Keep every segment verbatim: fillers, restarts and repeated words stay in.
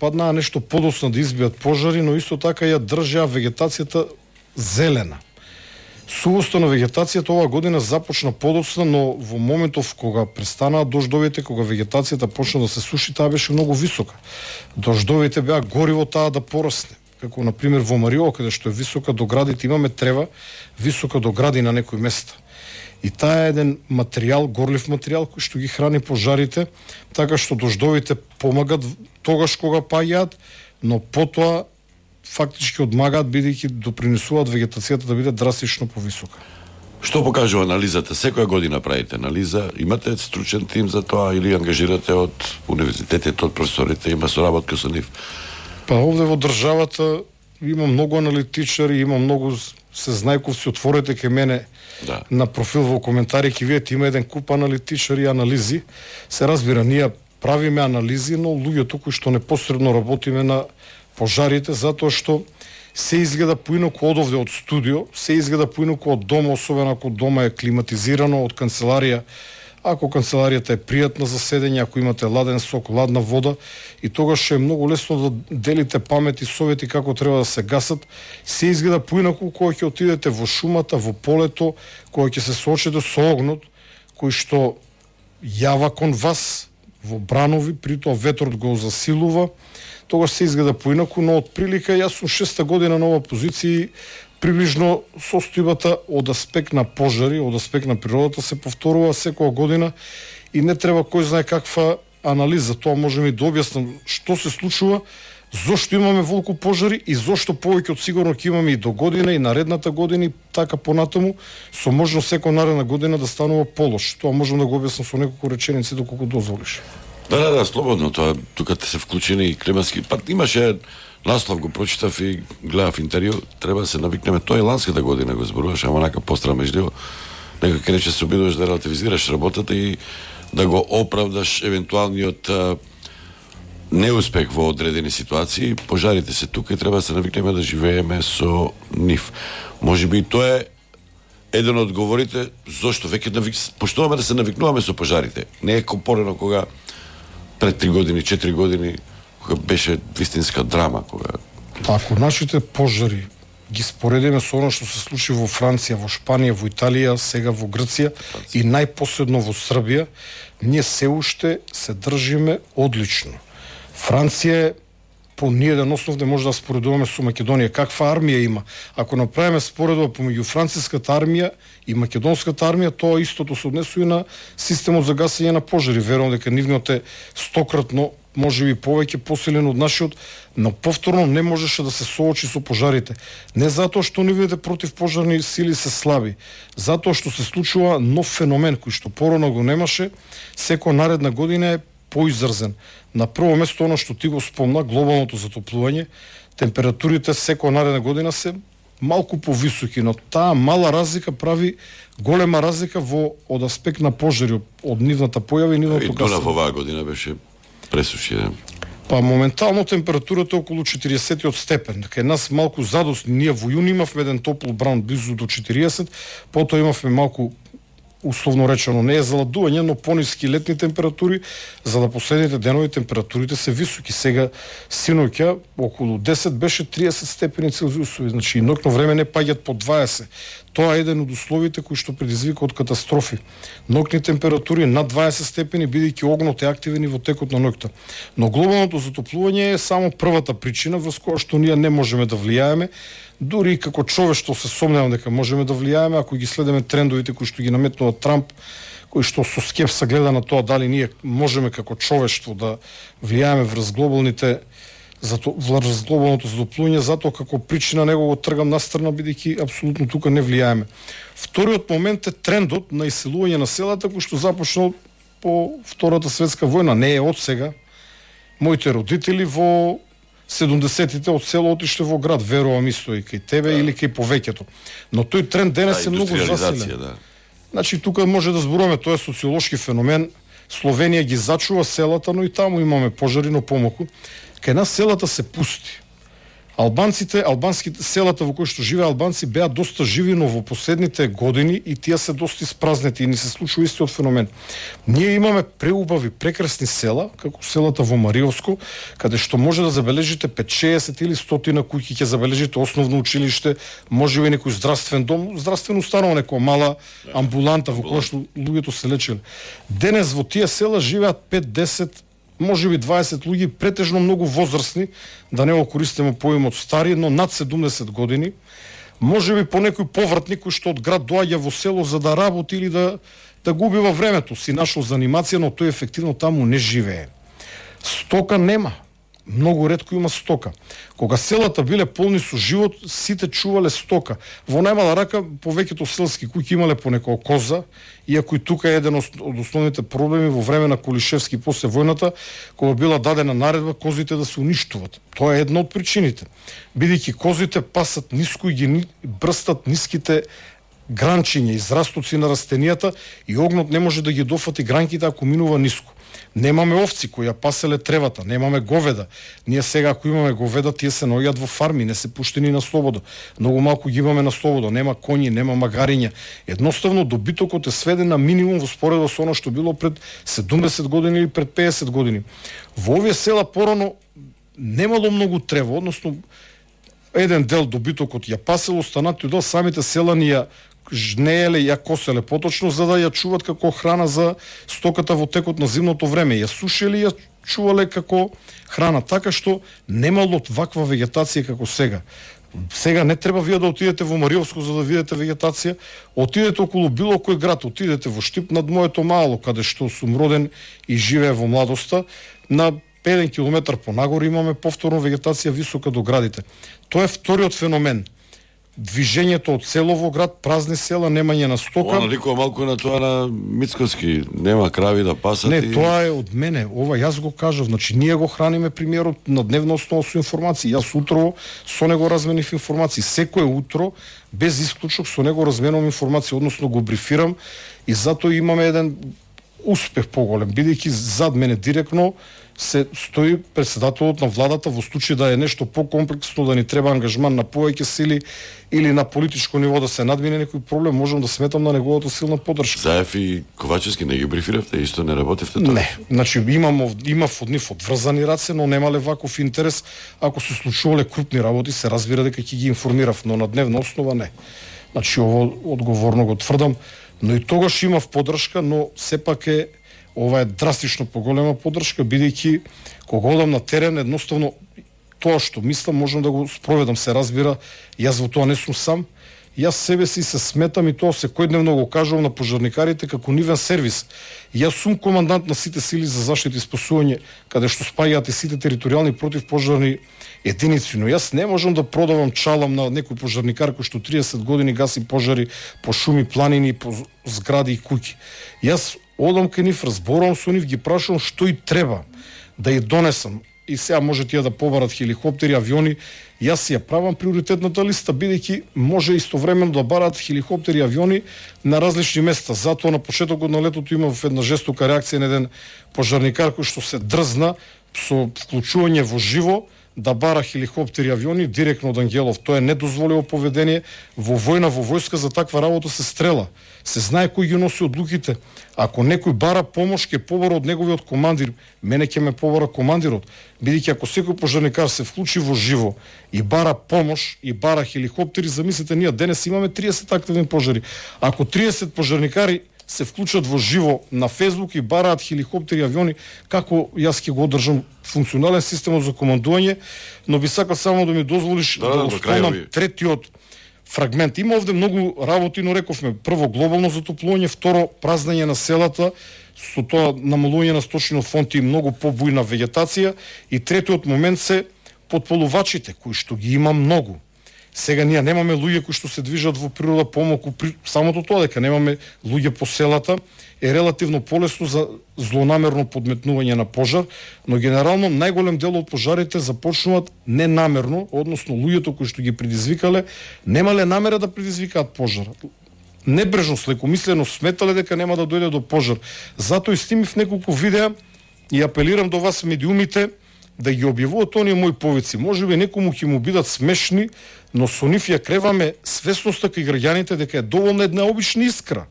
паднаа нешто подоцна да избијат пожари, но исто така ја држаа вегетацијата зелена. Сувоста на вегетацијата оваа година започна подоцна, но во моментов кога престанаа дождовите, кога вегетацијата почна да се суши, таа беше многу висока. Дождовите беа гориво таа да порасне. Како на пример во Мариола, каде што е висока до градите, имаме трева висока до гради на некои места. И таа е еден материјал, горлив материјал кој што ги храни пожарите, така што дождовите помагат тогаш кога паѓаат, но потоа фактички одмагаат бидејќи допринесуваат вегетацијата да биде драстично повисока. Што покажува анализата? Секоја година правите анализа, имате стручен тим за тоа или ангажирате од универзитетите, од професорите, има соработка со нив? Па овде во државата има многу аналитичари, има многу сезнајковци, отворете ке мене да. На профил во коментари ќе видите има еден куп аналитичари и анализи. Се разбира, ние правиме анализи, но луѓето кои што непосредно работиме на пожарите, затоа што се изгледа поинаку од овде од студио, се изгледа поинаку од дома, особено ако дома е климатизирано, од канцеларија. Ако канцеларијата е пријатна за седење, ако имате ладен сок, ладна вода, и тогаш е многу лесно да делите памети, совети како треба да се гасат, се изгледа поинаку кога ќе отидете во шумата, во полето, кога ќе се соочите со огнот, кој што јава кон вас во бранови, притоа ветрот го засилува, тогаш се изгледа поинаку, но од прилика јас сум шеста година на ова позиција, приближно состојбата од аспект на пожари, од аспект на природата се повторува секоја година и не треба кој знае каква анализа. Тоа можеме и да објаснам што се случува, зошто имаме волку пожари и зошто повеќе од сигурно ќе имаме и до година и наредната година и така понатаму, со можност секоја наредна година да станува полош. Тоа можам да го објаснам со неколку реченици доколку дозволиш. Да, да, да, слободно, тоа тука се вклучени и климатски. Па имаше наслов, го прочитав и гледав интервју, треба да се навикнеме. Тоа е ланската година го зборуваш, ама нака постра меѓу нека ке рече се обидуваш да релативизираш работата и да го оправдаш евентуалниот а, неуспех во одредени ситуации. Пожарите се тука и треба да се навикнеме да живееме со нив. Можеби и тоа е еден од одговорите зошто веќе навик... поштуваме да се навикнуваме со пожарите. Не е компорено кога пред три години, четири години кога беше вистинска драма, кога ако нашите пожари ги споредиме со оно што се случи во Франција, во Шпанија, во Италија, сега во Грција и најпоследно во Србија, ние се уште се држиме одлично. Франција по ниеден основ не може да споредуваме со Македонија. Каква армија има? Ако направиме споредба помеѓу франциската армија и македонската армија, тоа истото се однесува и на системот за гасење на пожари. Верувам дека нивниот е стократно, можеби повеќе посилен од нашиот, но повторно не можеше да се соочи со пожарите. Не затоа што нивните противпожарни сили се слаби, затоа што се случува нов феномен кој што порано го немаше, секоја наредна година е поизразен. На прво место оно што ти го спомна, глобалното затоплување, температурите секоја наредна година се малку повисоки, но таа мала разлика прави голема разлика во од аспект на пожари, од нивната појава и нивното гасење. И Дунав оваа година беше пресушен. Па моментално температурата е околу четириесет степен. Кај нас малку задосни. Ние во јуни имавме еден топл бран близу до четириесет, потоа имавме малку условно речено не е заладување, но пониски летни температури, за да последните денови температурите се високи. Сега синоќа околу десет беше триесет степени Целзиусови, значи и ноќно време не паѓат по дваесет. Тоа е еден од условите кои што предизвика од катастрофи. Ноќни температури над дваесет степени, бидејќи огнот е активен и во текот на ноќта. Но глобалното затоплување е само првата причина врз која што ние не можеме да влијаеме. Дури и како човештво се сомневам дека можеме да влијаеме ако ги следиме трендовите кои што ги наметнува Трамп, кои што со скепса гледа на тоа дали ние можеме како човештво да влијаеме врз глобалните зато врз глобалното затоплување, затоа како причина него го тргам настрана, бидејќи апсолутно тука не влијаеме. Вториот момент е трендот на иселување на селата кој што започнал по Втората светска војна, не е од сега. Моите родители во седумдесетите од село отишле во град, верувам исто и кај тебе да. Или кај повеќето. Но тој тренд денес е многу засилен. Да. Значи тука може да зборуваме, тоа е социолошки феномен. Словенија ги зачува селата, но и таму имаме пожари, но помалку. Кај нас селата се пусти. Албанците, албанските селата во кои што живеа албанци беа доста живи, но во последните години и тие се доста испразнети и ни се случува истиот феномен. Ние имаме преубави, прекрасни села, како селата во Мариовско, каде што може да забележите петдесет или сто куќи, ќе забележите основно училиште, може би некој здравствен дом, здравствено установа, некоја мала амбуланта во која што луѓето се лечеле. Денес во тие села живеат пет, десет, може би дваесет луѓе, претежно многу возрастни, да не го користиме поимот стари, но над седумдесет години. Може би по некој повратник кој што од град доаѓа во село за да работи или да да губи во времето си нашол занимација, но тој ефективно таму не живее. Стока нема. Многу ретко има стока. Кога селата биле полни со живот, сите чувале стока. Во најмала рака, повеќето селски куќи имале по некоја коза, иако и тука е еден од основните проблеми во време на Кулишевски после војната, кога била дадена наредба козите да се уништуват. Тоа е една од причините. Бидејќи козите пасат ниско и ги брстат ниските гранчиња, израстоци на растенијата и огнот не може да ги дофати гранките ако минува ниско. Немаме овци кои ја паселе тревата, немаме говеда. Ние сега ако имаме говеда, тие се наоѓаат во фарми, не се пуштени на слободо. Многу малку ги имаме на слободо, нема коњи, нема магариња. Едноставно добитокот е сведен на минимум во споредба со она што било пред седумдесет години или пред пеесет години. Во овие села порано немало многу трева, односно еден дел добитокот ја пасело, останатиот дел самите селани ја жнееле, ја коселе поточно за да ја чуват како храна за стоката во текот на зимното време. Ја сушеле, ја чувале како храна, така што немало ваква вегетација како сега. Сега не треба вие да отидете во Мариовско за да видите вегетација, отидете околу било кој град, отидете во Штип над моето мало, каде што сум роден и живее во младоста, на еден километар понагоре имаме повторно вегетација висока до градите. Тоа е вториот феномен. Движењето од село во град, празни села, немање на стока. Она ликува малку на тоа на Мицкоски, нема крави да пасат. Не, и... тоа е од мене. Ова јас го кажав, значи ние го храниме премиерот на дневна основа со информации. Јас утро со него разменив информации. Секое утро без исклучок со него разменувам информации, односно го брифирам и затоа имаме еден успех поголем, бидејќи зад мене директно се стои председателот на владата во случај да е нешто покомплексно, да ни треба ангажман на повеќе сили или на политичко ниво да се надмине некој проблем, можам да сметам на неговата силна поддршка. Заев и Ковачевски не ги брифиравте, исто не работевте тоа? Не, значи имам имав од нив одврзани раце, но немале ваков интерес. Ако се случувале крупни работи, се разбира дека ќе ги информирав, но на дневна основа не. Значи ово одговорно го тврдам, но и тогаш имав поддршка, но сепак е ова е драстично поголема поддршка, бидејќи кога одам на терен, едноставно тоа што мислам можам да го спроведам, се разбира, јас во тоа не сум сам. Јас себе си се сметам и тоа секојдневно го кажувам на пожарникарите како нивен сервис. Јас сум командант на сите сили за заштита и спасување, каде што спаѓаат и сите територијални противпожарни единици, но јас не можам да продавам чалам на некој пожарникар кој што триесет години гаси пожари по шуми, планини, по згради и куќи. Јас одам кај нив, разборувам со нив, ги прашувам што и треба да ја донесам. И сега може тие да побарат хеликоптери, авиони. Јас ја правам приоритетната листа, бидејќи може истовремено да барат хеликоптери, авиони на различни места. Затоа на почетокот на летото имав една жестока реакција на еден пожарникар кој што се дрзна со вклучување во живо да бара хеликоптери, авиони директно од Ангелов. Тоа е недозволиво поведение. Во војна, во војска за таква работа се стрела. Се знае кој ги носи одлуките. Ако некој бара помош, ќе побара од неговиот командир. Мене ќе ме побара командирот. Бидејќи ако секој пожарникар се вклучи во живо и бара помош и бара хеликоптери, замислете, ние денес имаме триесет активни пожари. Ако триесет пожарникари се вклучат во живо на Фейсбук и бараат хеликоптери, авиони, како јас ќе го одржам функционален систем за командување, но би сакал само да ми дозволиш да, да, да спомнам третиот фрагмент. Има овде многу работи, но рековме, прво глобално затоплување, второ празнење на селата, со тоа намалување на сточниот фонд и многу побујна вегетација, и третиот момент се потполувачите, кои што ги има многу. Сега ние немаме луѓе кои што се движат во природа помалку, при самото тоа дека немаме луѓе по селата е релативно полесно за злонамерно подметнување на пожар, но генерално најголем дел од пожарите започнуваат ненамерно, односно луѓето кои што ги предизвикале немале намера да предизвикаат пожар. Небрежно, лекомислено сметале дека нема да дојде до пожар. Затоа и снимив неколку видеа и апелирам до вас медиумите да ги објавуваат оние мои повици. Можеби некому ќе му бидат смешни, но со нив ја креваме свесноста кај граѓаните дека е доволна една обична искра.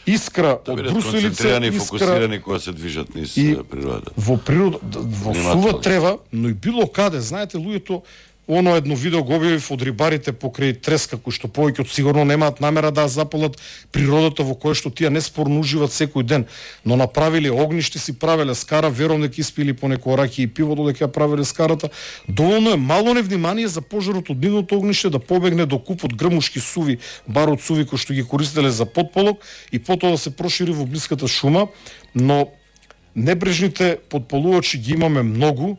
Искра да од бруселица, концентрирани и искра фокусирани кога се движат низ и природата. Во природа, во сува трева, но и било каде, знаете, луѓето, оно едно видео го објавив од рибарите покрај треска, кои што повеќе од сигурно немаат намера да запалат природата во која што тие неспорно уживат секој ден, но направиле огниште, си правеле скара, верувам дека испили по некој раки и пиво додека ја правеле скарата. Доволно е мало невнимание за пожарот од нивното огниште да побегне до купот грмушки суви, барот суви кои што ги користеле за потполок и потоа да се прошири во блиската шума, но небрежните потполувачи ги имаме многу.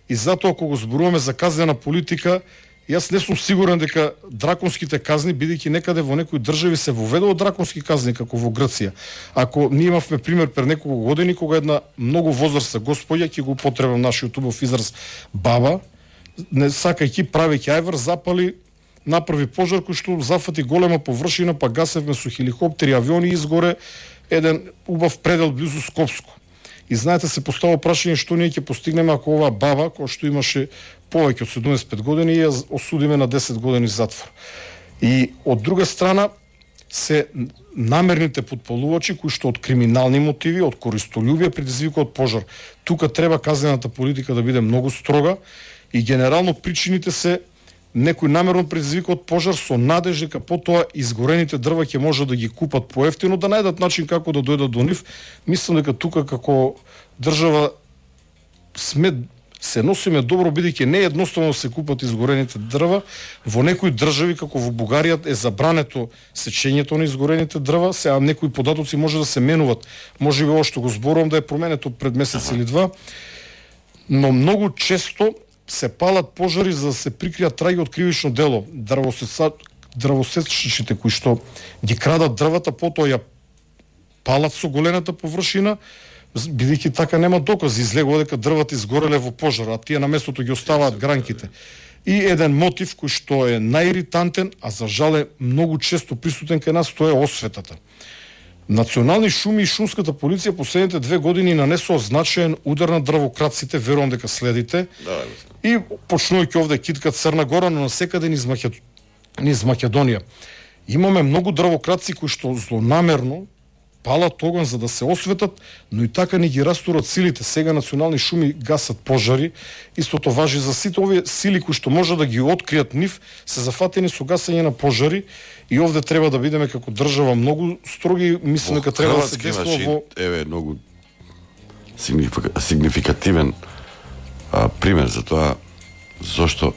И затоа, ако го зборуваме за казнена политика, јас не сум сигурен дека драконските казни, бидејќи некаде во некои држави се воведува драконски казни, како во Грција. Ако ние имавме пример пред неколку години, кога една многу возрастна господја, ќе го потребам нашиот убав израз баба, не сакајќи, правејќи ајвар, запали, направи пожар кој што зафати голема површина, па гасевме со хеликоптери, авиони и изгоре еден убав предел близу Скопско. И знаете, се постава прашање што ние ќе постигнеме ако оваа баба, која што имаше повеќе од седумдесет и пет години, ја осудиме на десет години затвор. И од друга страна се намерните потполувачи кои што од криминални мотиви, од користолюбие предизвикуваат пожар. Тука треба казнената политика да биде многу строга и генерално причините се некој намерно предизвикуваат пожар со надеж дека потоа изгорените дрва ќе може да ги купат поевтино, да најдат начин како да дојдат до нив. Мислам дека тука како држава сме се носиме добро, бидејќи не е едноставно да се купат изгорените дрва. Во некои држави, како во Бугарија, е забрането сечењето на изгорените дрва. Сега некои податоци може да се менуваат. Можеби ова што го зборувам да е променето пред месец или два. Но многу често се палат пожари за да се прикријат траги од кривично дело. Дрвосечачите кои што ги крадат дрвата, потоа ја палат со големата површина, бидејќи така нема докази, излегува дека дрвата изгореле во пожар, а тие на местото ги оставаат гранките. И еден мотив кој што е најиритантен, а за жал е многу често присутен кај нас, тоа е осветата. Национални шуми и шумската полиција последните две години нанесоа значаен удар на дрвокраците, верувам дека следите. Да, и почнувајќи овде киткат Црна Гора, но насекаде низ, Макед... низ Македонија. Имаме многу дрвокраци кои што злонамерно палат оган за да се осветат, но и така не ги растурат силите. Сега национални шуми гасат пожари. Истото важи за сите овие сили кои што може да ги откријат нив, се зафатени со гасење на пожари и овде треба да бидеме како држава многу строги. Мислам дека треба да се действува во еве многу сигнификативен а, пример за тоа зошто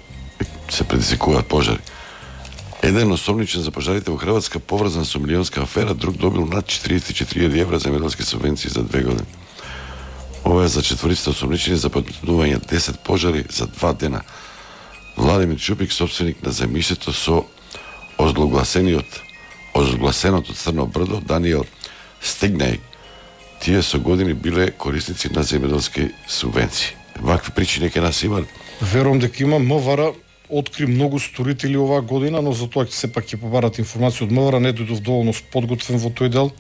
се предизвикуваат пожари. Еден осомничен за пожарите во Хрватска поврзан со милионска афера, друг добил над четириесет и четири илјади евра земјоделски субвенции за две години. Ова е за четворицата осомничени за подметнување десет пожари за два дена. Владимир Чупик, собственик на земјиштето со озлогласениот озлогласеното Црно брдо, Даниел Стигнај, тие со години биле корисници на земјоделски субвенции. Вакви причини ке нас има? Верувам дека има. МВР откри многу сторители оваа година, но за тоа сепак ќе побарат информација од МВР, не дојдов доволно подготвен во тој дел.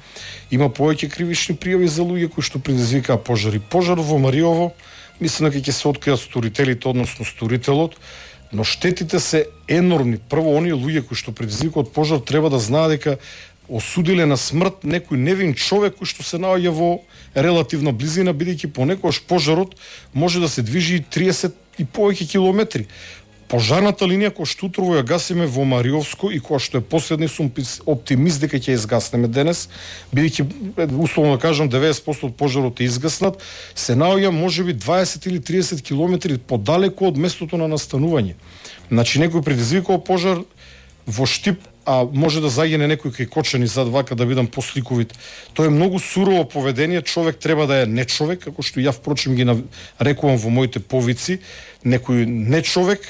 Има повеќе кривични пријави за луѓе кои што предизвикаа пожари. Пожар во Мариово, мислам дека ќе се откријат сторителите, односно сторителот, но штетите се енормни. Прво, оние луѓе кои што предизвикаат пожар треба да знаат дека осудиле на смрт некој невин човек кој што се наоѓа во релативна близина, бидејќи понекогаш пожарот може да се движи триесет и повеќе километри. Пожарната линија која што утрово ја гасиме во Мариовско и која што е последни, сум оптимист дека ќе ја изгаснеме денес, бидејќи условно да кажам деветдесет проценти од пожарот е изгаснат, се наоѓа можеби дваесет или триесет километри подалеку од местото на настанување. Значи некој предизвикал пожар во Штип, а може да загине некој кај Кочани, зад вака да бидам посликовит. Тоа е многу сурово поведение, човек треба да е нечовек, како што ја впрочем ги нарекувам во моите повици, некој нечовек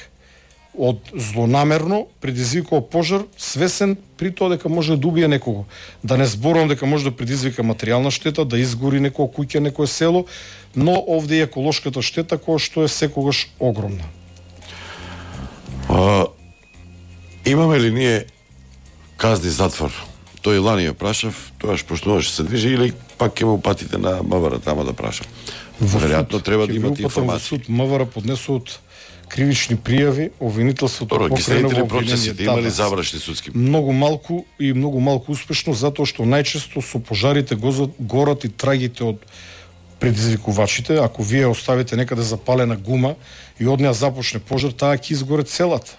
од злонамерно предизвикува пожар, свесен при тоа дека може да убие некого. Да не зборувам дека може да предизвика материјална штета, да изгори некоја куќа, некое село, но овде е еколошката штета која што е секогаш огромна. А, имаме ли ние казни затвор? Тој лани ја прашав, тоаш пошто може се движи или пак ќе му патите на МВР тама да прашам. Веројатно треба да имате информација. Во суд МВР поднесуваат кривични пријави, обвинителството покрено во процесите имали завршни судски. Многу малку и многу малку успешно, затоа што најчесто со пожарите горат и трагите од предизвикувачите. Ако вие оставите некаде запалена гума и од неа започне пожар, таа ќе изгоре целата.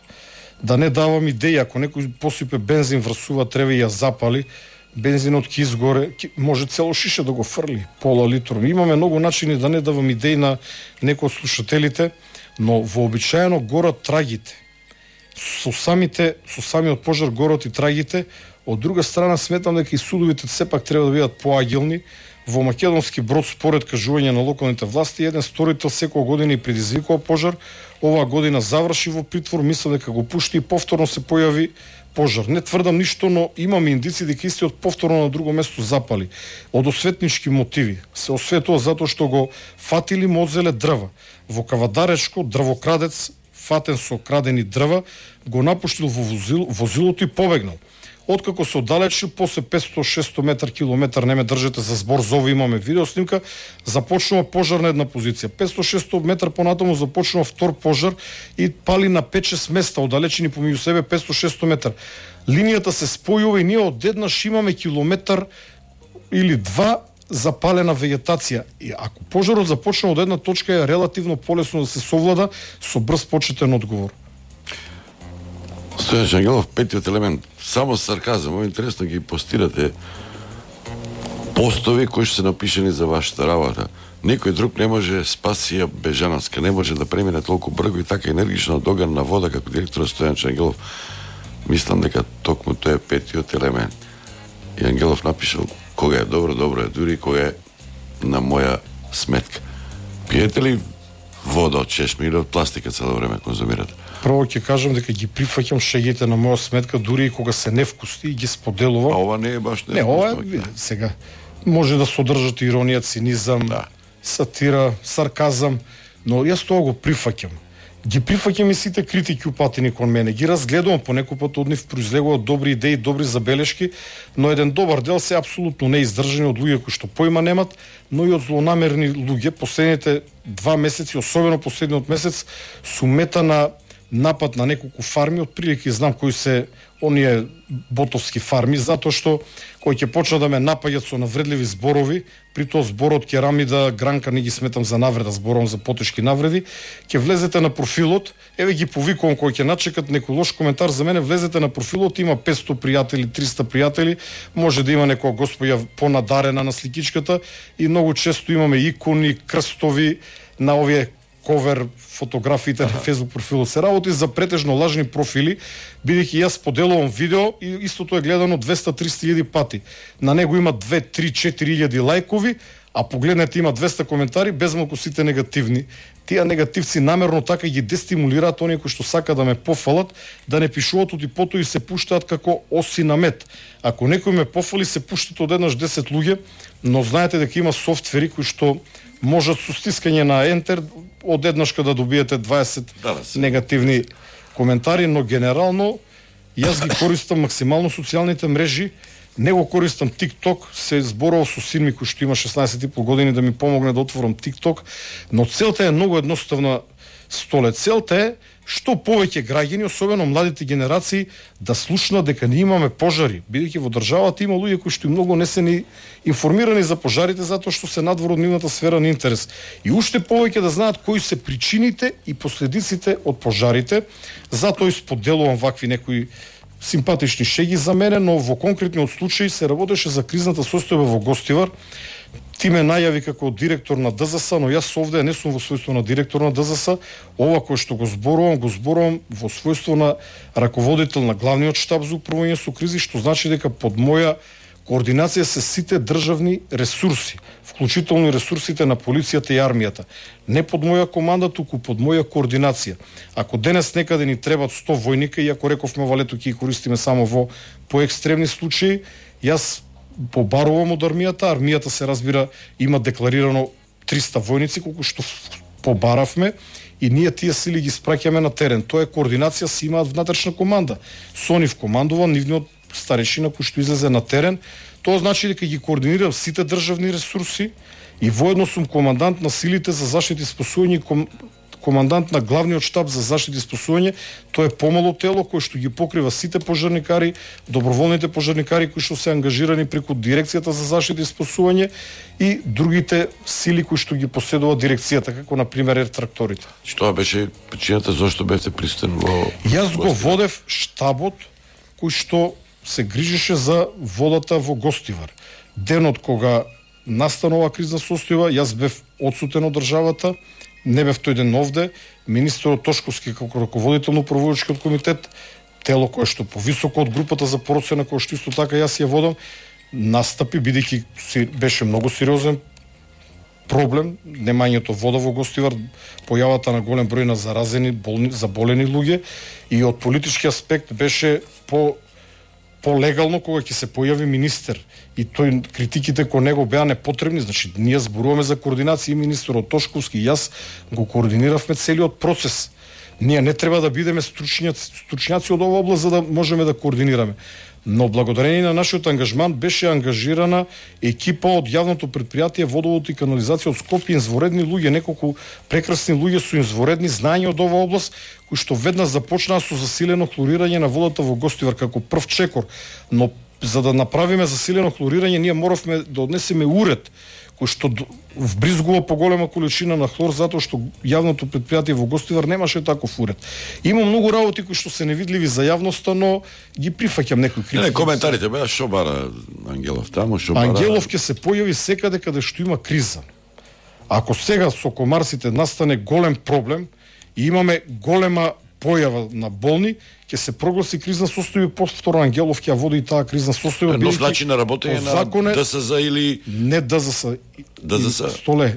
Да не давам идеја, ако некој посипе бензин врз сува трева и ја запали, бензинот ќе изгоре, може цело шише да го фрли, пола литро. Имаме многу начини, да не давам идеи на некои од слушателите, но вообичаено горат трагите. Со самите, со самиот пожар горат и трагите. Од друга страна сметам дека и судовите сепак треба да бидат поагилни. Во Македонски Брод, според кажување на локалните власти, еден сторител секоја година и предизвикува пожар. Оваа година заврши во притвор, мислам дека го пушти и повторно се појави пожар. Не тврдам ништо, но имам индици дека истиот повторно на друго место запали. Од осветнички мотиви. Се осветува затоа што го фатили, му одзеле дрва. Во Кавадаречко дрвокрадец, фатен со крадени дрва, го напуштил во возил, возилото и побегнал. Откако се оддалечи, после петсто шесто метар километар, не ме држете за збор, за ова имаме видеоснимка, започнува пожар на една позиција. петсто шесто метар понатаму започнува втор пожар и пали на пет-шест места, оддалечени помеѓу себе петсто шесто метар. Линијата се спојува и ние одеднаш имаме километар или два запалена вегетација. И ако пожарот започне од една точка, е релативно полесно да се совлада со брз почетен одговор. Стојан Шангелов, петиот елемент, само сарказам, ово интересно ги постирате постови кои што се напишени за вашата работа. Некој друг не може спаси ја Бежановска, не може да премине толку брго и така енергично од оган на вода како директор Стојан Шангелов. Мислам дека токму тој е петиот елемент. И Ангелов напишал, кога е добро, добро е, дури кога е на моја сметка. Пиете ли вода од чешми или од пластика цело време конзумирате? Прво ќе кажам дека ги прифаќам шегите на моја сметка, дури и кога се невкусни, и ги споделувам. А ова не е баш невкусно. Не, ова е, сега, може да содржат иронија, цинизам, да. Сатира, сарказам, но јас тоа го прифаќам. Ги прифаќам и сите критики упатени кон мене. Ги разгледувам, понекој пат од нив произлегуваат добри идеи, добри забелешки, но еден добар дел се апсолутно неиздржани од луѓе кои што поима немат, но и од злонамерни луѓе. Последните два месеци, особено последниот месец, су мета на напад на неколку фарми, од прилики знам кои се оние ботовски фарми, затоа што кој ќе почна да ме напаѓат со навредливи зборови, при тоа зборот керамида, гранка не ги сметам за навреда, зборам за потешки навреди, ќе влезете на профилот, еве ги повикувам кој ќе начекат некој лош коментар за мене, влезете на профилот, има петсто пријатели, триста пријатели, може да има некоја господја понадарена на сликичката и многу често имаме икони, крстови на овие ковер фотографиите на Facebook профилот. Се работи за претежно лажни профили, бидејќи јас поделувам видео и истото е гледано двеста-триста илјади пати. На него има две, три, четири илјади лајкови, а погледнете има двеста коментари, безмалку сите негативни. Тие негативци намерно така ги дестимулираат оние кои што сака да ме пофалат, да не пишуваат од и потоа и се пуштаат како оси на мед. Ако некој ме пофали, се пуштат одеднаш десет луѓе, но знаете дека има софтвери кои што можат со стискање на ентер одеднашка да добиете дваесет да, негативни коментари, но генерално јас ги користам максимално социјалните мрежи, не го користам TikTok, се зборував со син ми кој што има шеснаесет и пол години да ми помогне да отворам TikTok, но целта е многу едноставна, Столе. Целта е што повеќе граѓани, особено младите генерации, да слушнат дека ние имаме пожари, бидејќи во државата има луѓе кои што многу не се ни информирани за пожарите затоа што се надвор од нивната сфера на интерес. И уште повеќе да знаат кои се причините и последиците од пожарите. Затоа и споделувам вакви некои симпатични шеги за мене, но во конкретниот случај се работеше за кризната состојба во Гостивар. Ти ме најави како директор на ДЗС, но јас овде не сум во својство на директор на ДЗС. Ова кој што го зборувам, го зборувам во својство на раководител на главниот штаб за управување со кризи, што значи дека под моја координација се сите државни ресурси, вклучително и ресурсите на полицијата и армијата. Не под моја команда, туку под моја координација. Ако денес некаде ни требат сто војника, и ако рековме ова лето ќе ги користиме само во поекстремни случаи, јас побарувам од армијата, армијата се разбира има декларирано триста војници, колку што побаравме, и ние тие сили ги спраќаме на терен. Тоа е координација, си имаат внатрешна команда. Со нив командува нивниот старешина кој што излезе на терен. Тоа значи дека ги координирам сите државни ресурси И воедно сум командант на силите за заштита и спасување, ком, командант на главниот штаб за заштита и спасување. Тоа е помало тело кој што ги покрива сите пожарникари, доброволните пожарникари кои што се ангажирани преку дирекцијата за заштита и спасување и другите сили кои што ги поседува дирекцијата, како на пример ертракторите. Што беше причината зашто бевте присутен во... Јас го водев штабот кој што се грижеше за водата во Гостивар. Денот кога настанува кризна состојба, јас бев одсутен од државата, не бев тој ден овде, министерот Тошковски како раководител на управувачкиот комитет, тело кое што повисоко од групата за процена која што исто така јас ја водам, настапи бидејќи беше многу сериозен проблем, немањето вода во Гостивар, појавата на голем број на заразени, болни, заболени луѓе, и од политички аспект беше по полегално кога ќе се појави министер и тој критиките кон него беа непотребни, значи ние зборуваме за координација, и министерот Тошковски и јас го координиравме целиот процес. Ние не треба да бидеме стручњаци, стручњаци од оваа област за да можеме да координираме. Но благодарение на нашиот ангажман беше ангажирана екипа од јавното предпријатие Водовод и канализација од Скопје, инзворедни луѓе, неколку прекрасни луѓе со инзворедни знаења од оваа област, кои што веднаш започнаа со засилено хлорирање на водата во Гостивар како прв чекор. Но за да направиме засилено хлорирање, ние моравме да однесеме уред кој што вбризгува поголема количина на хлор, затоа што јавното предпријатие во Гостивар немаше таков уред. Има многу работи кои што се невидливи за јавноста, но ги прифаќам некои критики. Не, коментарите беа што бара Ангелов таму, што бара... Ангелов ќе се појави секаде каде што има криза. Ако сега со комарсите настане голем проблем и имаме голема појава на болни, ќе се прогласи кризна состојба, повторно Ангелов ќе води и таа кризна состојба. Но значи на работење на ДСЗ или не ДЗС, ДЗС. Столе.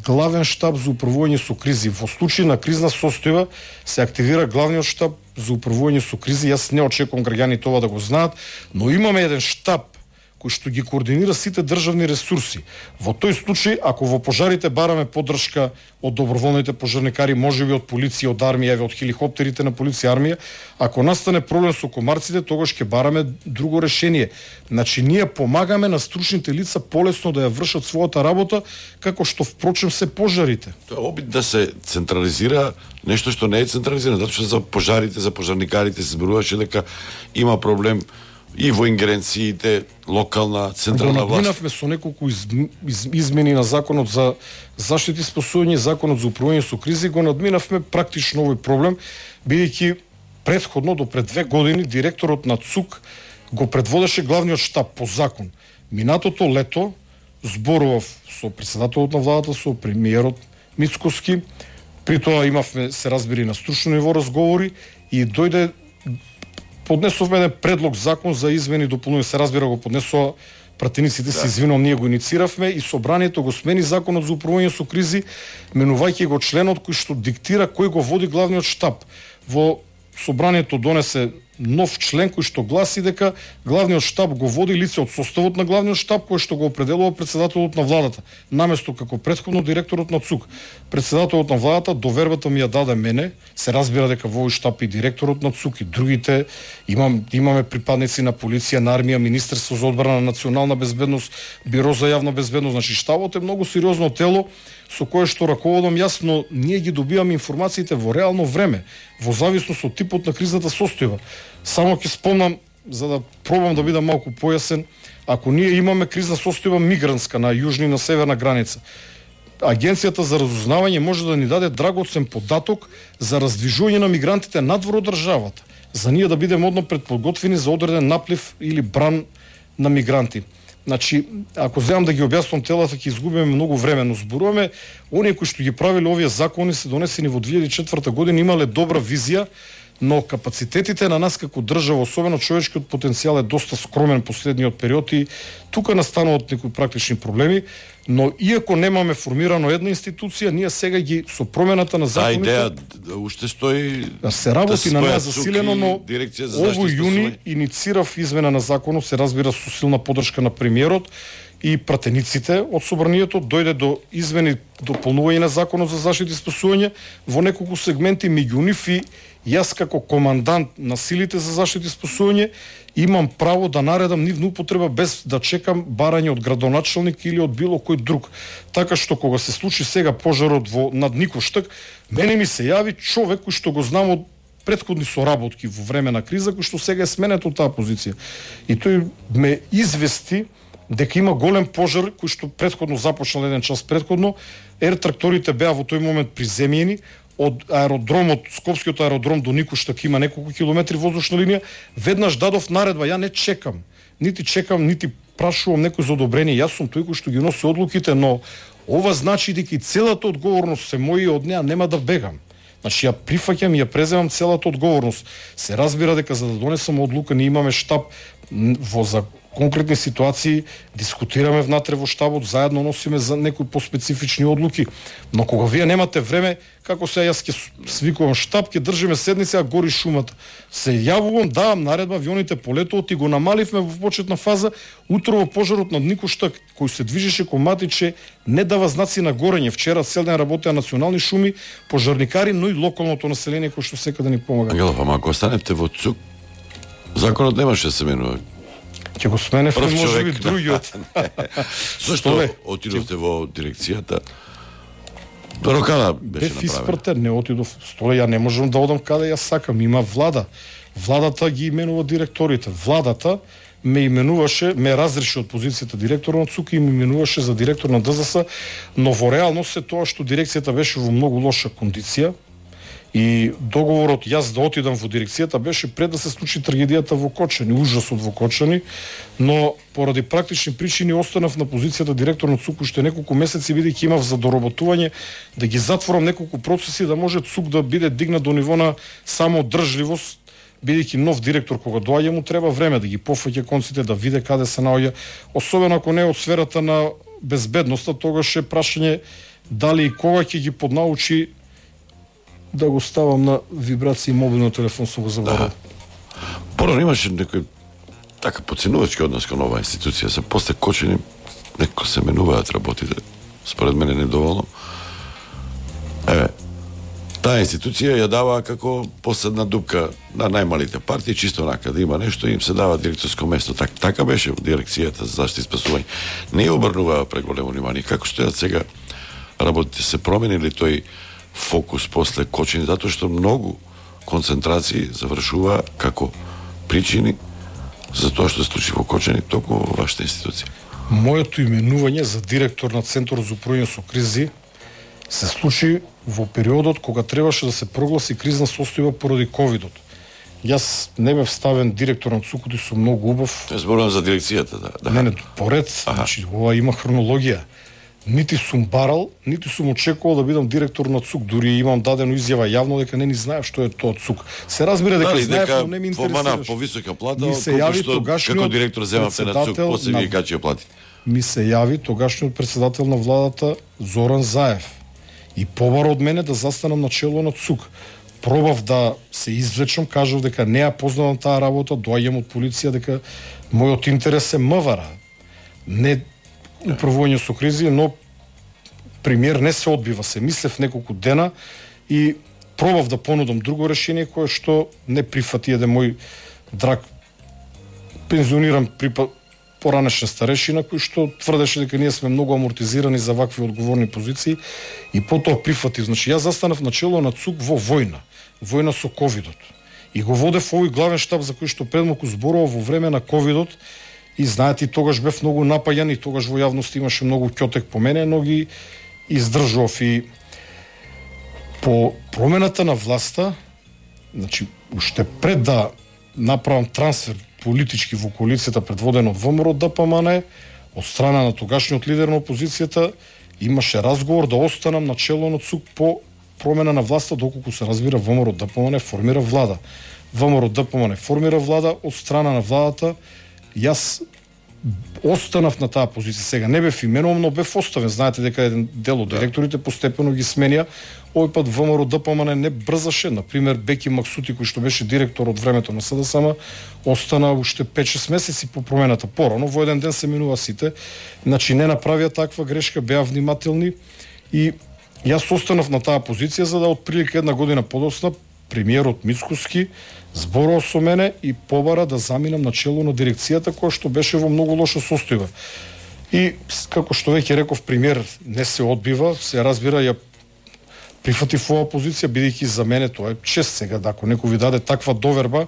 Главен штаб за управување со кризи. Во случај на кризна состојба се активира главниот штаб за управување со кризи. Јас не очекувам граѓаните ова да го знаат, но имаме еден штаб кој што ги координира сите државни ресурси. Во тој случај, ако во пожарите бараме поддршка од доброволните пожарникари, можеби од полиција, од армија, од хеликоптерите на полиција, армија, ако настане проблем со комарците, тогаш ќе бараме друго решение. Значи, ние помагаме на стручните лица полесно да ја вршат својата работа, како што впрочем се пожарите. Тоа е обид да се централизира нешто што не е централизирано, затоа што за пожарите, за пожарникарите се зборуваше дека има проблем и во ингеренциите локална, централна власт. Го надминавме со неколку из, из, измени на законот за заштита и спасување, законот за управување со кризи, го надминавме практично овој проблем, бидејќи претходно до пред две години директорот на ЦУК го предводеше главниот штаб по закон. Минатото лето зборував со председателот на владата, со премиерот Мицкоски, при тоа имавме, се разбери, на стручно ниво разговори и дојде поднесовме еден предлог закон за измени и дополнување, се разбира го поднесува пратениците, се извинувам, ние го иницииравме и собранието го смени законот за управување со кризи, менувајќи го членот кој што диктира кој го води главниот штаб. Во собранието донесе нов член кој што гласи дека главниот штаб го води лице од составот на главниот штаб кој што го определува председателот на владата, наместо како претходно директорот на ЦУК. Председателот на владата довербата ми ја даде мене, се разбира дека во овој штаб и директорот на ЦУК и другите, имам, имаме припадници на полиција, на армија, Министерство за одбрана, национална безбедност, Биро за јавна безбедност, значи штабот е многу сериозно тело со кое што раководам јас, но ние ги добиваме информациите во реално време, во зависност од типот на кризната состојба. Само ќе спомнам, за да пробам да бидам малку појасен, ако ние имаме кризна состојба мигрантска на јужна и на северна граница, Агенцијата за разузнавање може да ни даде драгоцен податок за раздвижување на мигрантите надвор од државата, за ние да бидеме одно предподготвени за одреден наплив или бран на мигранти. Значи, ако земам да ги објаснам телата, ќе изгубиме многу време, но зборуваме, оние кои што ги правиле овие закони се донесени во две илјади и четврта година, имале добра визија, но капацитетите на нас како држава, особено човечкиот потенцијал, е доста скромен последниот период и тука настануваат некои практични проблеми, но иако немаме формирано една институција, ние сега ги со промената на законите... Таа идеја уште стои... Да се работи да на неа засилено, но овој јуни иницирав измена на законот, се разбира со силна поддршка на премиерот, и пратениците од собранието, дојде до измени, дополнување на законот за заштита и спасување во неколку сегменти, меѓу нив и јас како командант на силите за заштита и спасување имам право да наредам нивна употреба без да чекам барање од градоначалник или од било кој друг. Така што кога се случи сега пожарот во над Никоштак, мене ми се јави човек кој што го знам од претходни соработки во време на криза, кој што сега е сменет од таа позиција. И тој ме извести дека има голем пожар кој што претходно започнал еден час претходно. Ер тракторите беа во тој момент приземјени од аеродромот, Скопскиот аеродром до Никоштак има неколку километри воздушна линија. Веднаш дадов наредба, ја не чекам, нити чекам, нити прашувам некој за одобрение. Јас сум тој кој што ги носи одлуките, но ова значи дека и целата одговорност се моја, од неа нема да бегам. Значи ја прифаќам и ја преземам целата одговорност. Се разбира дека за да донесам одлука ние имаме штаб во за конкретни ситуации, дискутираме внатре во штабот, заедно носиме за некои поспецифични одлуки. Но кога вие немате време, како се јас ќе свикувам штаб, ќе држиме седница, а гори шумата. Се јавувам, давам наредба, авионите полетуват и го намаливме во почетна фаза. Утро во пожарот над Никоштак, кој се движеше кон Матиче, не дава знаци на горење. Вчера цел ден работеа национални шуми, пожарникари, но и локалното население кој што секаде ни помага. Ангелов, ама ако останете во ЦУК, законот немаше да се менува. Ќе го сменевме може би другиот. Зошто отидовте во дирекцијата? До рокада беше Бев направено. испратен, не отидов. Столе, ја не можам да одам каде ја сакам. Има влада. Владата ги именува директорите. Владата ме именуваше, ме разреши од позицијата директор на ЦУК и ме именуваше за директор на ДЗС, но во реалност е тоа што дирекцијата беше во многу лоша кондиција. И договорот јас да отидам во дирекцијата беше пред да се случи трагедијата во Кочани, ужасот во Кочани, но поради практични причини останав на позицијата директор на ЦУК уште неколку месеци, бидејќи имав за доработување да ги затворам неколку процеси да може ЦУК да биде дигнат до ниво на самоодржливост, бидејќи нов директор кога доаѓа му треба време да ги пофаќа конците, да види каде се наоѓа, особено ако не е од сферата на безбедноста, тогаш е прашање дали и кога ќе ги поднаучи да го ставам на вибрација мобилниот телефон, со го заборав. Да. Порано имаше некој така поценувачки однос кон оваа институција. Се после Кочани некој се менуваат работите. Според мене недоволно. Еве, таа институција ја дава како последна дупка на најмалите партии, чисто онака да има нешто, им се дава директорско место. Так, така беше во дирекцијата за заштита и спасување. Не ја обрнуваа преголемо внимание. Како стојат сега работите, се променили тој фокус после Кочани, затоа што многу концентрации завршува како причини за тоа што се случи во Кочани токму во вашата институција. Моето именување за директор на Центар за управување со кризи се случи во периодот кога требаше да се прогласи кризна состојба поради ковидот. Јас не бев ставен директор на ЦУК, и сум многу убав. Не зборувам за дирекцијата, да. да. Не, не, поред, значи ова има хронологија. Нити сум барал, нити сум очекувал да бидам директор на ЦУК, дури имам дадено изјава јавно дека не ни знаев што е тоа ЦУК. Се разбира дека Дали, знаев, дека но не ми помана интересираш. повисока плата, Ми се јави што како директор земавте на ЦУК, после вие качи ја платите. Ми се јави тогашниот председател на владата Зоран Заев и побара од мене да застанам на чело на ЦУК. Пробав да се извлечам, кажав дека не ја познавам таа работа, доаѓам од полиција дека мојот интерес е МВР. Не управување со кризи, но премиер не се одбива, се мислев неколку дена и пробав да понудам друго решение кое што не прифати еден мој драг пензиониран припа поранешен старешина кој што тврдеше дека ние сме многу амортизирани за вакви одговорни позиции и потоа прифати. Значи јас застанав на чело на ЦУК во војна, војна со ковидот. И го водев овој главен штаб за кој што предмалку зборував во време на ковидот. И знаете, тогаш бев многу напаѓан и тогаш во јавност имаше многу ќотек по мене, но ги издржав. И по промената на власта, значи, уште пред да направам трансфер политички во коалицијата предводена од ВМРО ДПМН, од страна на тогашниот лидер на опозицијата, имаше разговор да останам на чело на ЦУК по промена на власта, доколку се разбира ВМРО ДПМН формира влада. ВМРО ДПМН формира влада, од страна на владата јас останав на таа позиција. Сега не бев именуван, но бев оставен. Знаете дека еден дел од директорите постепено ги сменија. Овој пат ВМРО ДПМН не брзаше. Например, Беки Максути, кој што беше директор од времето на СДСМ, остана уште пет-шест месеци по промената. Порано во еден ден се менува сите. Значи не направија таква грешка, беа внимателни и јас останав на таа позиција за да отприлика една година подоцна премиерот Мицкоски зборува со мене и побара да заминам на чело на дирекцијата која што беше во многу лоша состојба. И како што веќе реков, премиер не се одбива, се разбира, ја прифатив оваа позиција, бидејќи за мене тоа е чест сега, да, ако некој ви даде таква доверба,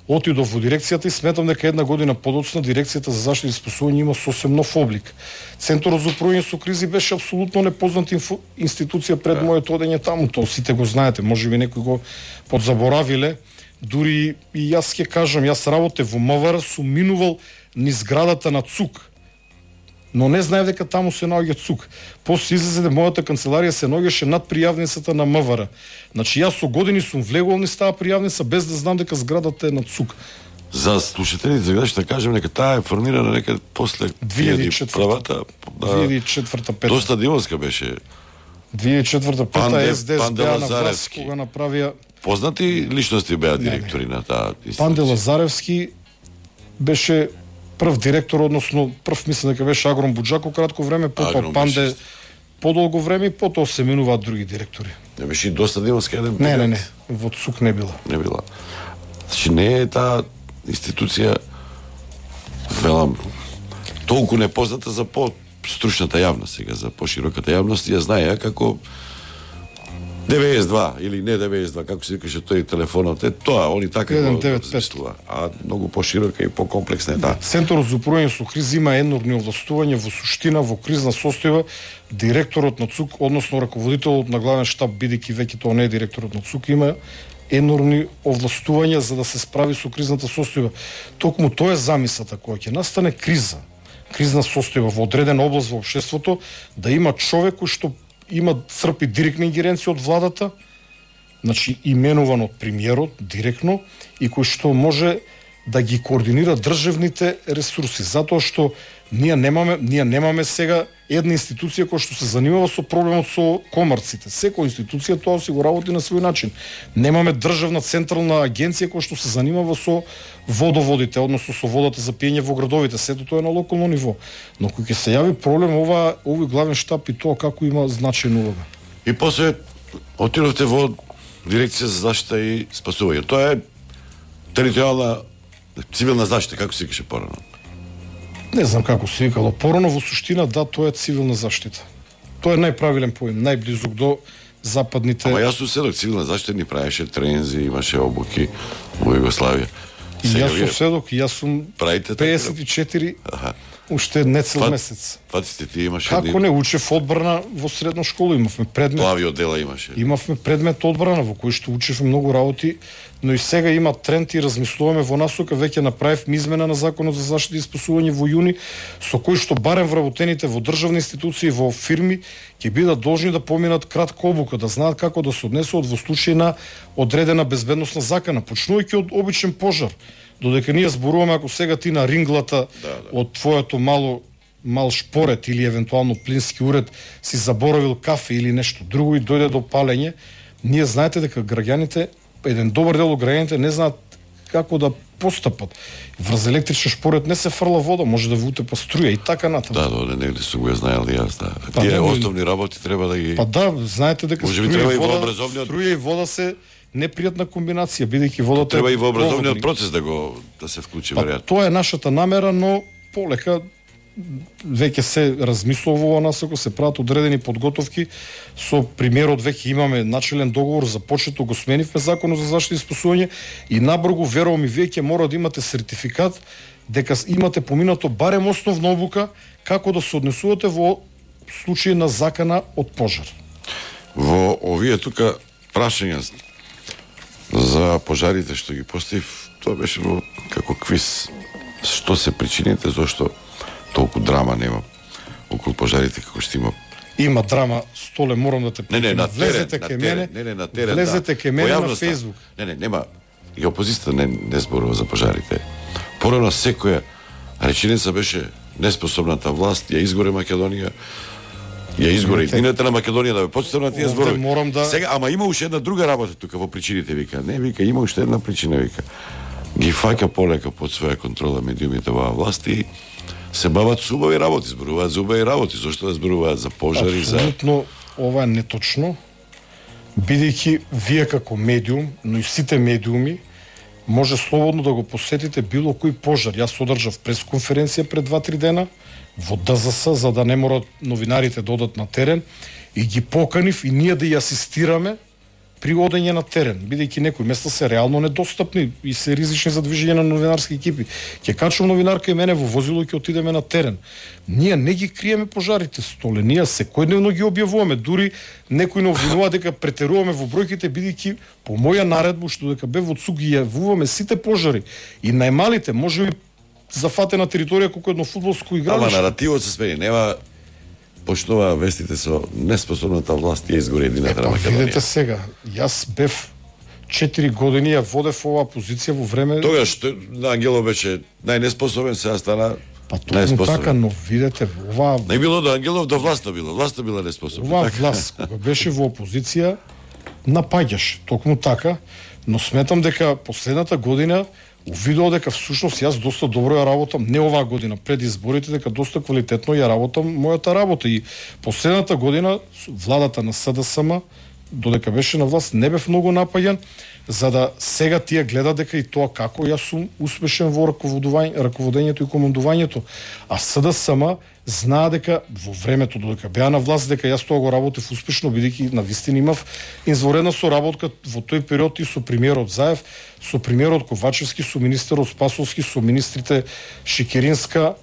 отидов во дирекцијата и сметам дека една година подоцна дирекцијата за заштита и спасување има сосем нов облик. Центарот за управување со кризи беше апсолутно непозната инфо... институција пред моето одење таму, тоа сите го знаете, можеби некои го подзаборавиле. Дури и јас ќе кажам, јас работев во МВР, сум минувал низ зградата на ЦУК, но не знаев дека таму се наоѓа ЦУК. После излезе дека мојата канцеларија се наоѓаше над пријавницата на МВР. Значи јас со години сум влегол низ таа пријавница без да знам дека зградата е на ЦУК. За слушателите, за да кажем, нека таа е формирана некаде после две илјади и четврта. две илјади и четврта пета. Доста димовска беше. две илјади и четврта пета СДС беа на власт Лазаревски. кога направија. Познати личности беа директори на таа институција. Панде Лазаревски беше прв директор, односно прв мислам дека беше Агрон Буџако кратко време, потоа Агрон Панде беше. подолго време и потоа се менуваат други директори. Не беше и доста димовска еден Не, период. не, не, во ЦУК не била. Не била. Значи не е таа институција, велам, толку непозната за по-стручната јавност сега, за пошироката јавност, ја знае ја како деветдесет и два или не деветдесет и два, како се викаше тој телефонот, е тоа, они така еден го девет пет. размислува, а многу поширока и покомплексна е таа. Центарот за управување со кризи има енорни овластувања во суштина, во кризна состојба. Директорот на ЦУК, односно раководителот на главен штаб, бидејќи веќе тоа не е директорот на ЦУК, има енорни овластувања за да се справи со кризната состојба. Токму тоа е замисата, кога ќе настане криза, кризна состојба во одредена област во општеството, да има човек кој што има црпи директна ингеренција од владата, значи именуван од премиерот директно и кој што може да ги координира државните ресурси, затоа што ние немаме ние немаме сега една институција која што се занимава со проблемот со комарците. Секоја институција тоа си го работи на свој начин. Немаме државна централна агенција која што се занимава со водоводите, односно со водата за пиење во градовите. Сето тоа е на локално ниво. Но кога ќе се јави проблем, ова овој главен штаб и тоа како има значајна улога. И после отидовте во дирекција за заштита и спасување. Тоа е територијална цивилна заштита, како се викаше порано. Не знам како се викало порано, во суштина да, тоа е цивилна заштита. Тоа е најправилен поим, најблизок до западните. Ама јас сум седок, цивилна заштита ни правеше трензи, имаше обуки во Југославија. И јас сум седок, и јас сум правите педесет и четири, Аха. уште не цел Фат- месец. Фатите ти имаше Како не учев одбрана во средна школа, имавме предмет. Плави оддела имаше. Имавме предмет одбрана во кој што учевме многу работи, но и сега има тренд и размислуваме во насока, веќе направивме измена на законот за заштита и спасување во јуни, со кој што барем вработените во државни институции и во фирми ќе бидат должни да поминат кратка обука, да знаат како да се однесуваат во случај на одредена безбедносна закана, почнувајќи од обичен пожар. Додека ние зборуваме, ако сега ти на ринглата Да, да. од твоето мало мал шпорет или евентуално плински уред си заборавил кафе или нешто друго и дојде до палење, ние знаете дека граѓаните, еден добар дел од граѓаните не знаат како да постапат. Врз електричен шпорет не се фрла вода, може да ви утепа струја и така натаму. Да, да, негде сум го знаел и јас, да. Па, Тие нема- основни работи треба да ги... Па да, знаете дека Може би струја треба и и во вода, образовниот- струја и вода се непријатна комбинација, бидејќи водата Треба е и во образовниот проводник. процес да го да се вклучи Па, веројатно. тоа е нашата намера, но полека веќе се размислува во оваа насока, се прават одредени подготовки. Со премиерот веќе имаме начелен договор, започето го сменивме законот за заштита и спасување и набргу, верувам и вие ќе мора да имате сертификат дека имате поминато барем основна обука како да се однесувате во случај на закана од пожар. Во овие тука прашања за пожарите што ги поставив, тоа беше во како квиз. Што се причините, зошто толку драма нема околу пожарите како што има. Има драма, Столе, морам да те Не, не, на терен, влезете на кај терен, мене, не, не, на терен, влезете да. кај мене Во на јавноста. Facebook. Не, не, нема. И опозицијата не, не зборува за пожарите. Порано секоја Реченица беше неспособната власт ја изгоре Македонија, ја изгоре едината на Македонија да бе почитам на тие зборови. Морам да Сега, ама има уште една друга работа тука во причините, вика. Не, вика, има уште една причина, вика. Ги фаќа полека под своја контрола медиумите во власт и се бават со убави работи, зборуваат за убави работи, зошто да зборуваат за пожари, за... Апсолутно, ова е неточно, бидејќи вие како медиум, но и сите медиуми, може слободно да го посетите било кој пожар. Јас одржав пресконференција пред два-три дена во Д З С, за да не морат новинарите да одат на терен, и ги поканив и ние да ја асистираме при одење на терен, бидејќи некои места се реално недостапни и се ризични за движење на новинарски екипи. Ќе качам новинарка и мене во возило и ќе отидеме на терен. Ние не ги криеме пожарите, Столе, ние секојдневно ги објавуваме, дури некои не обвинува дека претеруваме во бројките, бидејќи по моја наредба што дека бе во ЦУ ги јавуваме сите пожари и најмалите, можеби зафатена територија колку едно фудбалско игралиште. Ама наративот се смени, нема почнува вестите со неспособната власт ја изгори едината на Македонија. Видете сега, јас бев четири години, ја водев оваа позиција во време... Тогаш на Ангелов беше најнеспособен, сега стана Па точно така, но видете, оваа... Не било до Ангелов, до власта било. Власта била неспособна. Оваа така? власт, кога беше во опозиција, напаѓаше, токму така, но сметам дека последната година увидов дека всушност јас доста добро ја работам, не оваа година, пред изборите, дека доста квалитетно ја работам мојата работа. И последната година владата на С Д С М, додека беше на власт, не бев многу напаѓан, за да сега тие гледат дека и тоа како јас сум успешен во раководењето и командувањето. А С Д С М знаа дека во времето додека беа на власт, дека јас тоа го работев успешно, бидејќи навистина имав изворедна соработка во тој период и со премиерот Заев, со премиерот Ковачевски, со министерот Спасовски, со министрите Шикеринска,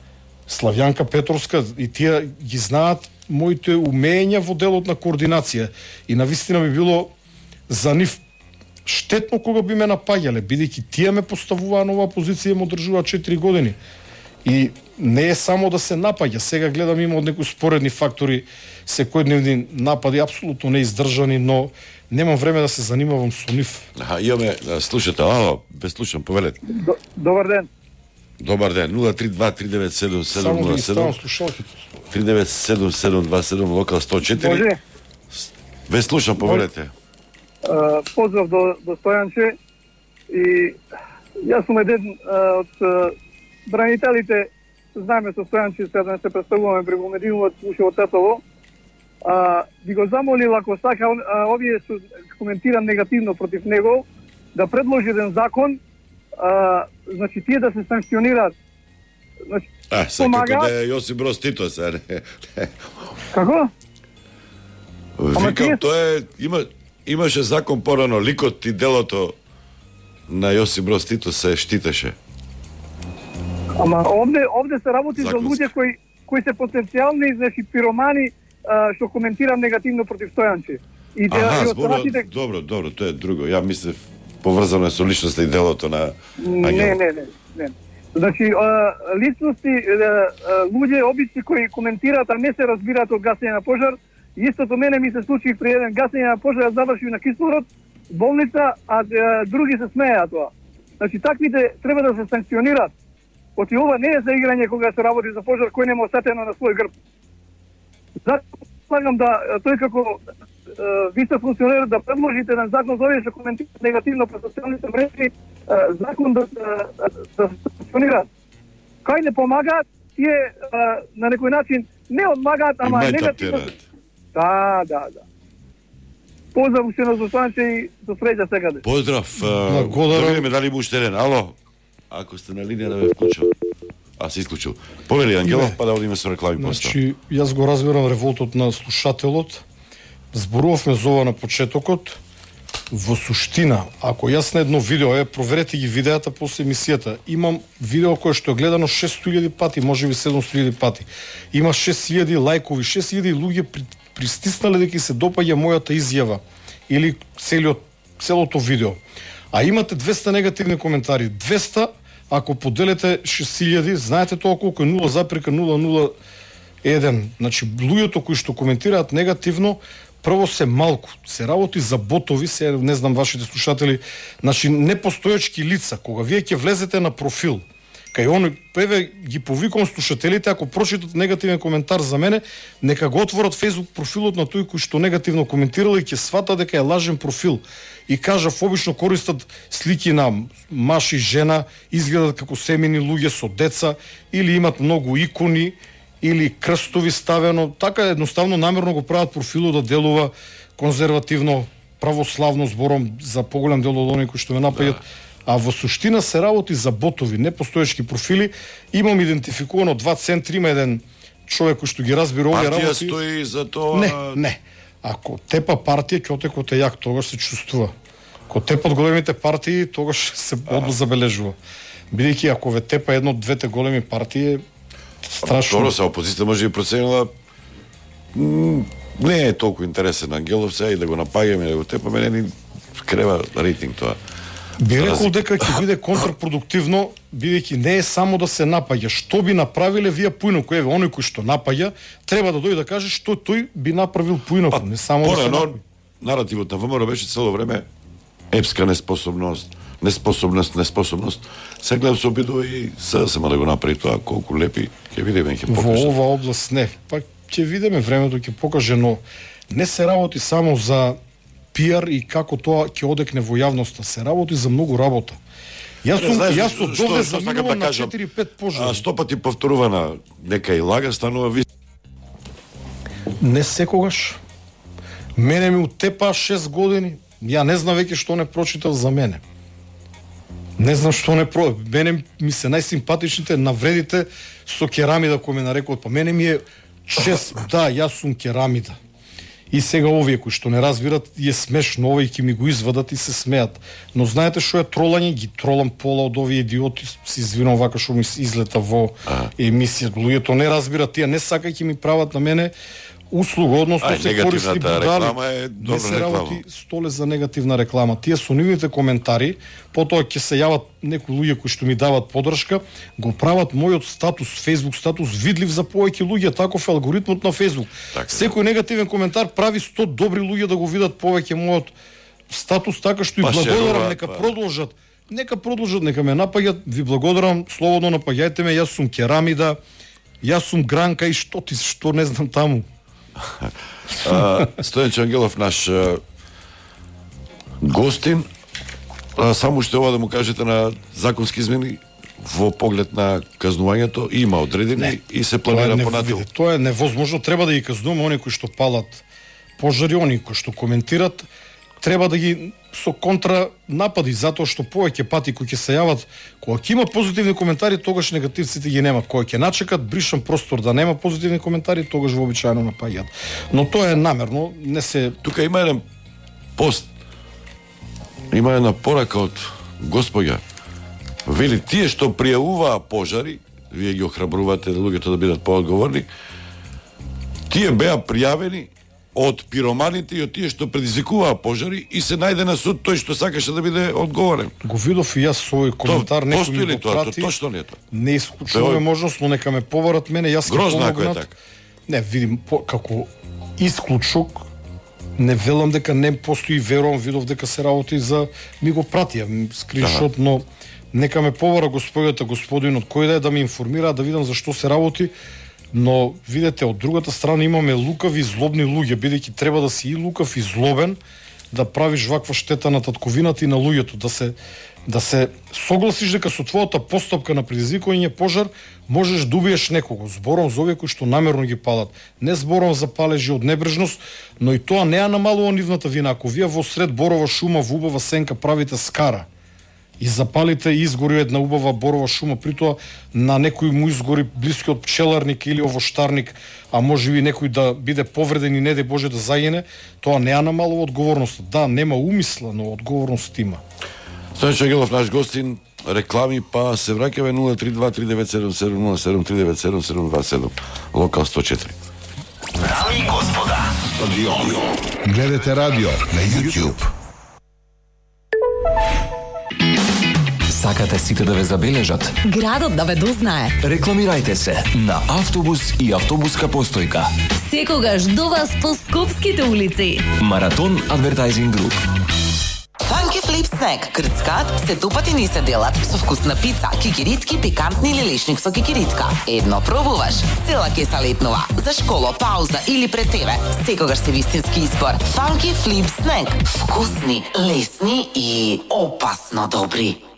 Славјанка Петровска, и тие ги знаат моите умења во делот на координација. И навистина би било за нив штетно кога би ме напаѓале, бидејќи тие ме поставуваа на оваа позиција и ме одржуваат четири години. И не е само да се напаѓа, сега гледам има од некои споредни фактори, секојдневни напади апсолутно неиздржани, но немам време да се занимавам со нив. Аха, имаме слушател, ало, бе слушам, повелете. Добар ден. Добар ден, нула три два три девет седум седум нула седум три девет седум седум два седум локал сто четири. Може? Ве слушам, повелете. Uh, поздрав до, до Стојанче и јас сум еден uh, од uh, бранителите, знаеме со Стојанче, сега да не се представуваме преку медиумот, уште од Тетово. Uh, би го замолил, ако сака, uh, овие што коментирам негативно против него, да предложи еден закон, uh, значи тие да се санкционираат. Значи, а, се помага... како да е Јосип Брос Тито, се, не. Како? Викам, тие... тоа е, има, имаше закон порано, ликот и делото на Јосип Брос Тито се штитеше. Ама овде, овде се работи Законски. за луѓе кои, кои се потенцијални, значи, пиромани, а, што коментирам негативно против Стојанче. И Аха, зборува, добро, добро, тоа е друго. Ја мислев поврзано е со личноста и делото на Ангел. Не, не, не, не. Значи, а, личности, а, луѓе обични кои коментираат, а не се разбираат од гасење на пожар. Истото мене ми се случи при еден гасење на пожар, заврши на кислород, болница, а, а други се смееа тоа. Значи, таквите треба да се санкционираат. Оти ова не е за играње кога се работи за пожар кој нема осетено на свој грб. Затоа слагам да тој како ви сте функционер да предложите на закон за овие што коментираат негативно по социјалните мрежи, закон да да се функционира. Кај не помагаат, тие на некој начин не одмагаат, ама негативно. Да, да, да. Поздрав уште на Зостанче и до среќа секаде. Поздрав. Да видиме дали има уште еден. Ало. Ако сте на линија да ме вклучил. А се исклучил. Повели Ангелов, па да одиме со реклами после. Значи, јас го разбирам револтот на слушателот. Зборувавме за ова на почетокот. Во суштина, ако јас на едно видео, е, проверете ги видеата после емисијата, имам видео кое што е гледано шестстотини илјади пати, можеби седумстотини илјади пати. Има шест илјади лајкови, шест илјади луѓе при, пристиснале дека се допаѓа мојата изјава или целиот, целото видео. А имате двеста негативни коментари. двеста, ако поделите шест илјади, знаете тоа колку е нула запирка нула нула еден. Значи, луѓето кои што коментираат негативно, прво се малку, се работи за ботови, се не знам вашите слушатели, значи непостоечки лица, кога вие ќе влезете на профил, Кај оној, еве ги повикувам слушателите, ако прочитат негативен коментар за мене, нека го отворат Facebook профилот на тој кој што негативно коментирал и ќе свата дека е лажен профил. И кажав, обично користат слики на маж и жена, изгледат како семени луѓе со деца, или имат многу икони, или крстови ставено. Така едноставно намерно го прават профилот да делува конзервативно, православно, збором за поголем дел од оние кои што ме напаѓат. А во суштина се работи за ботови, непостоечки профили. Имам идентификувано два центри, има еден човек кој што ги разбира овие работи. Партија стои за тоа. Не, не. Ако тепа партија, ќе отекот е јак, тогаш се чувствува. Ако тепат големите партии, тогаш се одно забележува. Бидејќи ако ве тепа едно од двете големи партии, страшно. Второ, се опозиција може би проценила не е толку интересен Ангелов сега и да го напаѓаме, да го тепаме, не ни крева рейтинг тоа. Би рекол дека ќе биде контрпродуктивно, бидејќи не е само да се напаѓа. Што би направиле вие поинаку? Еве, оној кој што напаѓа, треба да дојде да каже што тој би направил поинаку, па, не само да се напаѓа. Наративот на ВМРО беше цело време епска неспособност, неспособност, неспособност. Се гледам се обидува и сега сема да го направи тоа, колку лепи, ќе видиме, ќе покаже. Во ова област не, па ќе видиме, времето ќе покаже, но не се работи само за пиар и како тоа ќе одекне во јавноста, се работи за многу работа. Јас сум јас од довде заминувам на четири пет пожари. Сто пати повторувана нека и лага станува ви. Не секогаш. Мене ми утепа шест години. Ја не знам веќе што не прочитав за мене. Не знам што не про... Мене ми се најсимпатичните навредите со керамида кој ме нарекуваат. Па мене ми е чест, да, јас сум керамида. И сега овие кои што не разбират, е смешно, овие ќе ми го извадат и се смеат. Но знаете што е тролање? Ги тролам пола од овие идиоти, се извинувам вака што ми излета во емисија. Луѓето не разбират, тие не сакајќи ми прават на мене услуга, односно Ај, се користи будали. Е не се работи столе за негативна реклама. Тие со нивните коментари, потоа ќе се јават некои луѓе кои што ми дават поддршка, го прават мојот статус, Facebook статус видлив за повеќе луѓе, таков е алгоритмот на Facebook. Така, секој негативен коментар прави сто добри луѓе да го видат повеќе мојот статус, така што и благодарам, нека па. продолжат. Нека продолжат, нека ме напаѓат, ви благодарам, слободно напаѓајте ме, јас сум керамида, јас сум гранка и што ти, што не знам таму. Стојан Ангелов, наш а, гостин, а, само што ова да му кажете на законски измени во поглед на казнувањето, има одредени не, и се планира понатаму. Тоа е невозможно, треба да ги казнуваме оние кои што палат пожари, оние кои што коментират, треба да ги со контра напади, затоа што повеќе пати кои ќе се јават, кога ќе има позитивни коментари, тогаш негативците ги нема. Кога ќе начекат бришан простор да нема позитивни коментари, тогаш вообичаено напаѓаат. Но тоа е намерно, не се... Тука има еден пост, има една порака од госпоѓа. Вели, тие што пријавуваа пожари, вие ги охрабрувате луѓето да бидат поодговорни, тие беа пријавени од пироманите и од тие што предизвикуваа пожари и се најде на суд тој што сакаше да биде одговорен. Го видов и јас свој коментар, некој ми го тоа, прати. Точно не е тоа. Не исклучуваме можност, но нека ме побарат мене, јас ќе помогнат. Грозно е така. Не, видим, по, како исклучок, не велам дека не постои, верувам, видов дека се работи за... Ми го пратија, скриншот, но нека ме побара господјата, господинот, кој да е да ме информира, да видам за што се работи. Но, видете, од другата страна имаме лукави и злобни луѓе, бидејќи треба да си и лукав и злобен, да правиш ваква штета на татковината и на луѓето, да се да се согласиш дека со твојата постапка на предизвикување пожар можеш да убиеш некого. Зборам за овие кои што намерно ги палат. Не зборам за палежи од небрежност, но и тоа не ја намалува нивната вина. Ако вие во сред борова шума во убава сенка правите скара и запалите и изгори една убава борова шума, притоа на некој му изгори блиски од пчеларник или овоштарник, а може би некој да биде повреден и не дај Боже да загине, тоа не ја намалува одговорноста. Да, нема умисла, но одговорност има. Стојан Ангелов, наш гостин, реклами, па се враќаме нула три два три девет седум седум нула седум три девет седум седум два седум, локал сто четири. Дами и господа, стадион. Гледате радио на YouTube. Сакате сите да ве забележат? Градот да ве дознае? Рекламирајте се на автобус и автобуска постојка. Секогаш до вас по скопските улици. Маратон Адвертајзинг Груп. Funky Flip Snack, крцкат, се тупати ни се делат со вкусна пица, кикиритки, пикантни или лешник со кикиритка. Едно пробуваш, цела кеса летнува. За школо, пауза или пред тебе, секогаш се вистински избор. Funky Flip Snack, вкусни, лесни и опасно добри.